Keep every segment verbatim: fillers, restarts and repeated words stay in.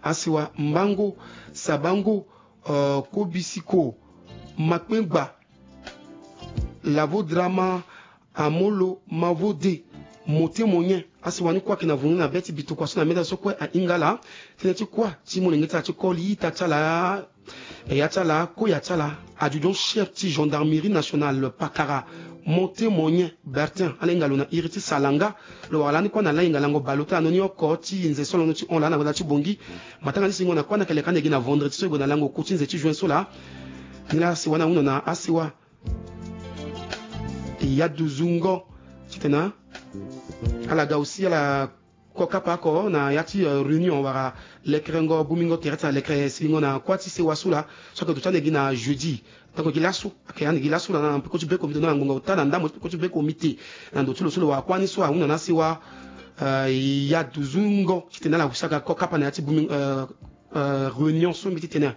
Asiwa Mbango, Sabango, euh, Kobisiko, Makpengba, Lavo Drama, Amolo, Mavode, Mote Monyen. Asiwa ni kue ayeke na vungu ni na be ti bituka so na meda so kue ahinga ala. Tënë ti kue ti molenge ti ala ti koli ita ti ala, eya ti ala, koya ti ala, adjudant chef ti gendarmerie nationale Pakara, Mote Monyen Bertin, ala hinga lo na iri ti Salanga. Lo wara lani kue na lahinga lango baleota na ni oko ti nze so alondo ti hon laa na gbata ti Bongi. Matanga ti singo na kue na kele kani gi na vendredi so e gue na lango ku ti nze ti juin so laa. Ni laa asiwa ni ahunda na asiwa Yaduzungo titene ala ga aussi ala ko kapa oko na ya ti, euh, réunion wala lekerengo bumingo tere ti ala lekere silingo na kuâ ti sewa so laa. So ayeke duti ande gi na jeudi. Donc gi laso ayeke ande gi laso laa na peko ti be komite na ngonga ota na ndambo ti peko ti be komite na ndo ti lo so lo wara kuâ ni so ahunda na asewa, euh, Yaduzungo titene ala husi aga ko kapa na ya ti bumi, euh, euh, réunion so mbi ti tene.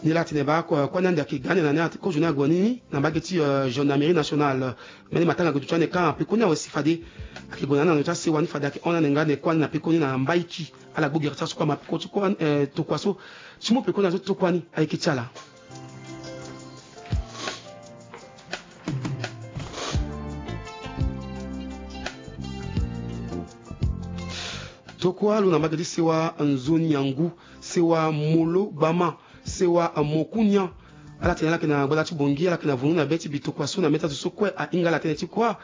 Ni laa atene baa ko, kuâ ni ande ayeke ga ande na ni ate kozo ni ague ni na mbage ti, euh, gendarmerie nationale. Mbeni matanga ayeke duti ande kâ na pekoni awe si fade ayeke gue na ni na ndo ti asewa ni fade ayeke hon ni ande nga ande kuâ ni na pekoni na Mbaiki. Ala gbu gere ti aso kue ama peko ti kuâ, eh, tokua so ti mu pekoni na so ti tokua ni ayeke ti ala. Tokua lo na mbage ti sewa Nzoni Angu, sewa Molo Gbama, sewa Mokunia. Ala tene ala yeke na gbata ti Bongi, ala yeke na vungu na be ti bitokua so na mê ti azo so kue ahinga ala tënë ti kuâ.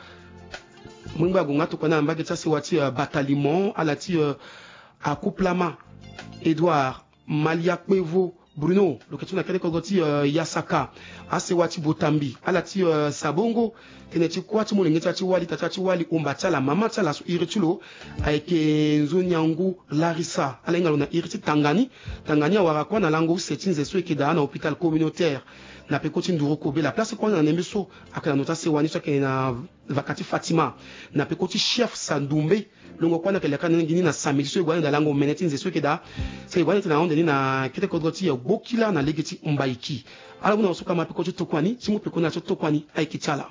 Mongba ague nga tokua ni na mbage ti asewa ti, euh, Bataliment, ala ti, euh, Akuplama, Edouard, Malia Kpevo, Bruno, lo yeke ti na kete kodro ti, euh, Yasaka. Asewa ti Botambi, ala ti, euh, Sabongo. Tënë ti kuâ ti molenge ti ala ti wali, ita ti ala ti wali, omba ti ala, mama ti ala so iri ti lo ayeke Nzoni Angu Larissa, ala hinga lo na iri ti Tangani. Tangani awara kuâ na lango use ti nze so e yeke daa na hôpital communautaire na peko ti Nduru Kobela. Place kuâ ni na ndembe so ayeke na ndo ti asewa ni so ayeke na vaka ti Fatima na peko ti chef Sandumbe. Longo kuâ ni ayeke leka na ni gi ni na samedi so e gue ande daa lango mene ti nze so e yeke daa. So e gue ande ti na ahunde ni na kete kodro ti Gbokila na lege ti Mbaiki. Ala hunda na so kama peko ti tokua ni ti mu peko na so tokua ni ayeke ti ala.